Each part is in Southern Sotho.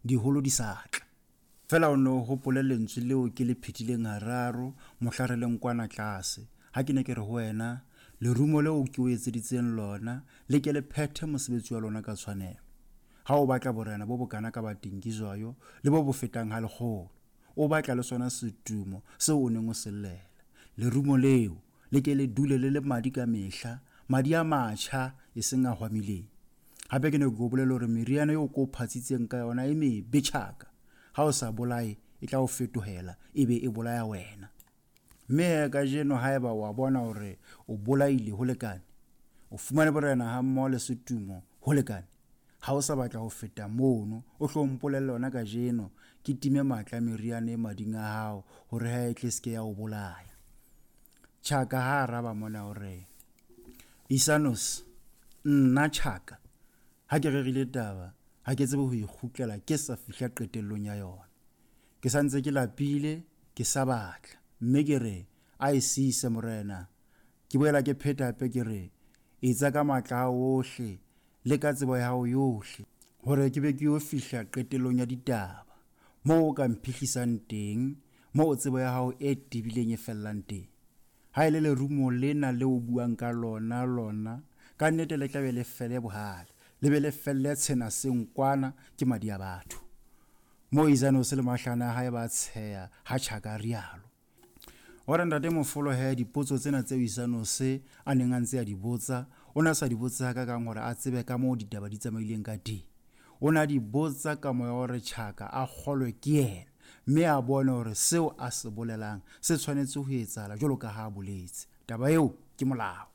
diholo di sa tla. Feela o nno o hopole lentswe leo ke le phetileng hararo mohla re leng kwana tlase, ha ke ne ke re ho wena, Lerumo leo ke o etseditseng lona le ke le phethe mosebetsi wa lona ka tshwanelo. Ha o batla borena bo bokana ka ba Dingizwayo le bo bo fetang ha lekgolo, o batla le sona setumo seo o neng o se llela. Lerumo leo le ke le dule le le madi ka mehla, madi a matjha, e seng a hwamileng. Hape ke ne ke o bolelle hore meriana eo ke o phatsitseng ka yona e mebe tjhaka. Ha o sa bolaye, e tla o fetohela e be e bolaya wena. Mme he kajeno haeba o a bona hore o bolaile ho lekane, o fumane borena hammoho le setumo ho lekane, ha o sa batla ho feta mono, o hlo mpolelle hona kajeno, ke time matla a meriana e mading a hao hore ha e tle se ke ya o bolaya. Tjhaka ha araba mona o re, Isanos, nna Tjhaka, ha ke rerile taba, ha ke tsebe ho e kgutlela ke sa fihla qetellong ya yona. Ke sa ntse ke lapile, ke sa batla, mme ke re, A e siise, Morena. Ke boela ke pheta hape ke re, Etsa ka matla a hao ohle le ka tsebo ya hao yohle, hore ke be ke yo fihla qetellong ya ditaba, moo o ka mphihlisang teng, moo tsebo ya hao e tebileng e fellang teng. Ha e le lerumo lena leo o buang ka lona, lona, ka nnete le tla be le fele bohale, le be le felle tshena seng kwana ke madi a batho. Moo Isanose le mahlane a hae ba tsheha ha Tjhaka a rialo. O re Ntate Mofolo he dipotso tsena tseo Isanose a neng a ntse a di botsa, o ne a sa di botse hakakang hore a tsebe ka moo ditaba di tsamaileng ka teng. O ne a di botsa ka moya wa hore Tjhaka a kgolwe ke yena mme a bone hore seo a se bolelang se tshwanetse ho etsahala jwalo ka ha a boletse. Taba eo ke molao.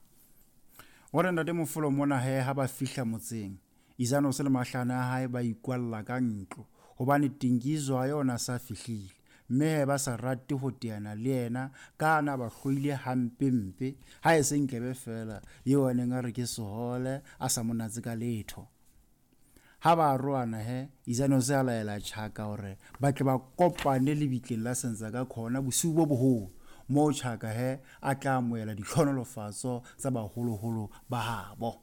O re Ntate Mofolo mona he ha ba fihla motseng, Isanose le mahlane a hae ba ikwalla ka ntlo, hobane Tingizwayo o na sa fihlile, mme he ba sa rate ho teana le yena ka a na ba hloile hampe-mpe, ha e se Ntlebe feela eo a neng a re ke sehole a sa mo natse ka letho. Ha ba arohana he, Isanose a laela Chaka hore ba tle ba kopane lebitleng la Senzangakhona bosiu bo boholo, moo Chaka he a tla amohela ditlhohonolofatso tsa baholoholo ba habo.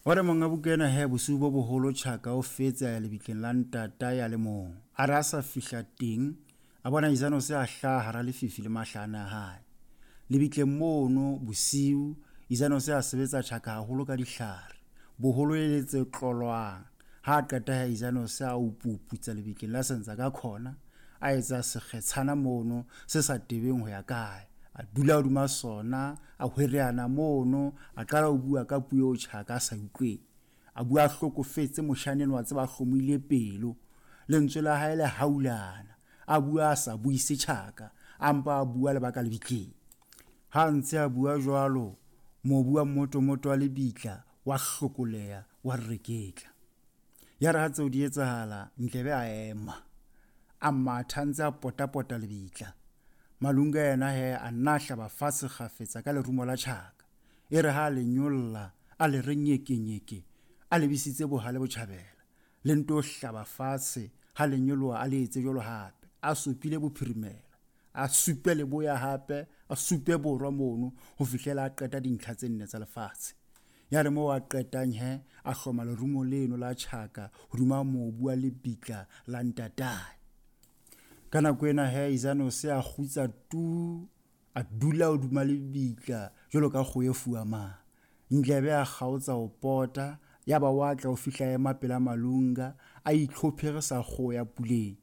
O re monga buka ena he bosiu bo boholo Chaka o fetse a ya lebitleng la ntatae a le mong. A re a sa fihla teng, a bona Isanose a hlaha hara lefifi le mahlane a hae. Lebitleng mono bosiu, Isanose a sebetsa Chaka haholo ka dihlare, boholo e le tse tlolwang. Ha a qeta he Isanose a upuputsa lebitleng la Senzangakhona, a etsa sekgetshana mono se sa tebeng ho ya kae. A dula hodima sona, a hwereana mono, a qala ho bua ka puo eo Tjhaka a sa e utlweng. A bua a hlokofetse, moshana enwa a tseba a hlomohile pelo. Lentswe la hae le haulana. A bua a sa buise Tjhaka, a mpa a bua le ba ka lebitleng. Ha a ntse a bua jwalo, mobu wa mmotomoto wa lebitla wa hlokoleha, wa reketla. Yare ha tseo di etsahala, Ndlebe a ema, a matha a ntse a potapota lebitla. Malunga yena he a nna a hlaba fatshe kgafetsa ka lerumo la tjhaka. E re ha a le nyolla, a le re nyekenyeke, a lebisitse bohale botjhabela. Le nto hlaba fatshe, ha le nyoloha a le etse jwalo hape, a supile bophirimela. A supe leboya hape, a supe borwa mono, ho fihlela a qeta dintlha tse nne tsa lefatshe. Yare moo a qetang he, a hloma lerumo leno la tjhaka hodima mobu wa lebitla la ntatae. Ka nako ena he, Isanose a kgutsa tu, a dula hodima lebitla jwalo ka kgoho e fuamang. Ndlebe a kgaotsa ho pota, yaba wa tla o fihla a ema pela Malunga, a itlhophere sa kgoho ya puleng.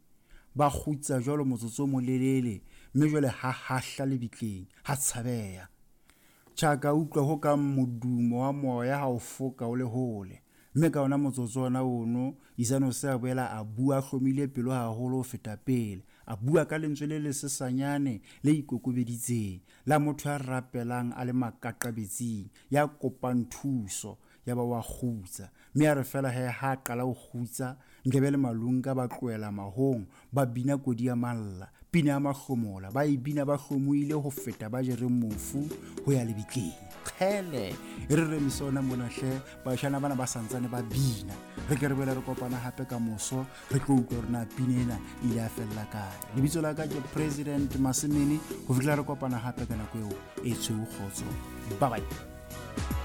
Ba kgutsa jwalo motsotso o molelele, mme jwale ha hahla lebitleng, ha tshabeha. Tjhaka a utlwa ho kang modumo wa moya ha o foka o le hole, mme ka ona motsotso ona ono, Isanose a boela a bua a hlomile pelo haholo ho feta pele, a bua ka lentswe le lesesanyane le ikokobeditseng, la motho ya rapelang a le makaqabetsing, ya kopang thuso, yaba o a kgutsa. Mme a re feela he ha a qala ho kgutsa, Ndlebe le Malunga ba tlohela mahong, ba bina kodi ya malla, pina ya mahlomola, ba e bina ba hlomohile ho feta ba jereng mofu ho ya lebitleng. Kgele, e re remise ona mona hle, bashana bana ba santsane ba bina. Re ke re boele re kopana hape ka moso, re tlo utlwa hore na pina ena e ile ya fella kae. Lebitso la ka ke President Masemene, ho fihlela re kopana hape ka nako eo e tshweu kgotso. Bye bye.